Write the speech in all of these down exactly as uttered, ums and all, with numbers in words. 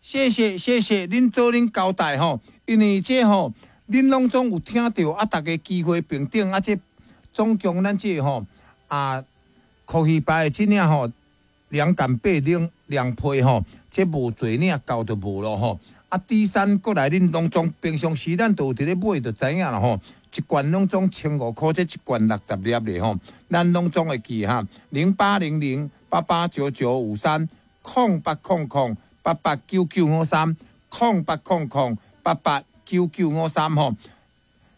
謝謝謝謝，恁做恁交代吼，因為這吼，恁攏總有聽著啊，逐家機會平等啊，這總共咱這吼啊，科學牌的這領吼，涼感八兩涼被吼，這無濟領夠就無咯吼。啊，D 三過來，恁攏總平常時咱都有佇咧買，就知影啦吼。一罐攏總千五箍，這一罐六十粒咧吼，咱攏總會記哈。零八零零八八九九五三，空八空空八八九九五三，空八空空八八九九五三吼。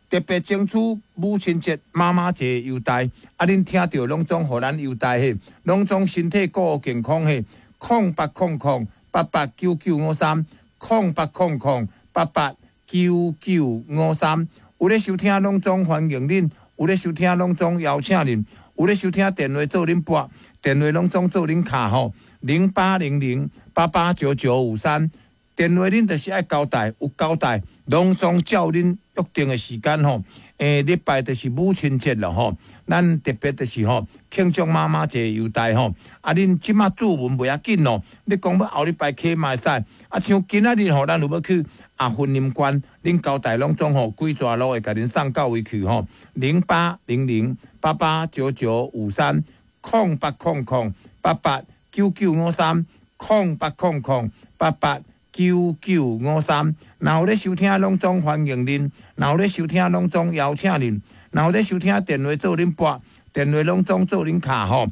特別爭取母親節、媽媽節優待，啊！恁聽著攏總予咱優待嘿，攏總身體顧健康嘿，空八空空八八九九五三，空八空空八八九九五三。有咧收聽攏總歡迎恁，有咧收聽攏總邀請恁，有咧收聽電話做恁撥，電話攏總做恁敲吼，零八零零八八九九五三。電話恁就是愛交代，有交代，攏總照恁約定的時間吼。欸，禮拜就是母親節了吼，咱特別就是吼慶祝媽媽節優待吼。啊，恁這馬注文袂要緊咯，你講欲後禮拜起嘛會使。啊，像今仔日吼，咱有欲去啊雲林縣，恁交代攏總吼幾逝路會共恁送到位去吼。零八零零八八九九五三，空八空空八八九九五三，空八空空八八九九五三，若有咧收聽，攏總歡迎恁；若有咧收聽，攏總邀請恁；若有咧收聽，電話做恁撥，電話攏總做恁敲吼。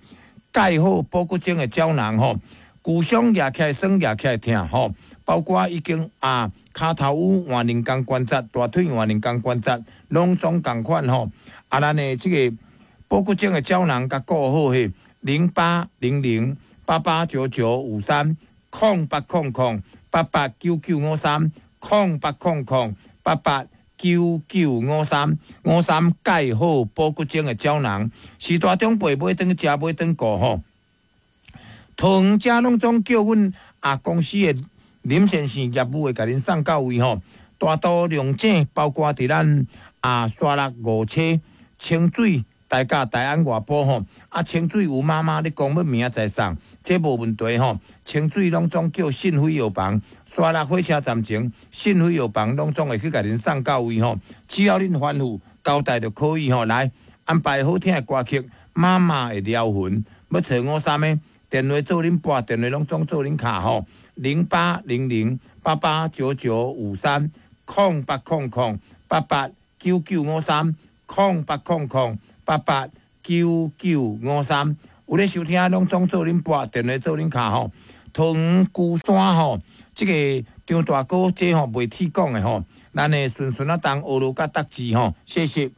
蓋好保骨精的膠囊吼，舊傷舉起來酸，舉起來疼吼，包括已經啊，跤頭趺換人工關節，大腿換人工關節，攏總仝款吼。啊，咱的這個保骨精的膠囊共顧好嘿，零八零零八八九九五三，空八空空八八九九五三，空八空空八八九九五三五三，蓋好保骨精的膠囊，是大長輩買轉去食，買轉顧吼。桃園遮攏總叫阮啊公司的林先生業務會共恁送到位吼。大肚龍井包括佇咱啊沙鹿五車清水。大甲大安外埔吼，啊清水有媽媽，你講欲明仔載送，這無問題吼。清水攏總叫信輝藥房，沙鹿火車站前信輝藥房攏總會去共恁送到位吼。只要恁吩咐交代就可以吼。來安排好聽的歌曲，《媽媽的療魂》，欲揣五三的電話做恁撥，電話攏總做恁敲吼。零八零零八八九九五三，空八空空八八九九五三，空八空空八八九九五三，有咧收聽，攏總做恁撥，電話做恁敲吼。桃園龜山吼，這個張大哥這吼袂替講的吼，咱的順順仔東學羅甲德智吼，謝謝。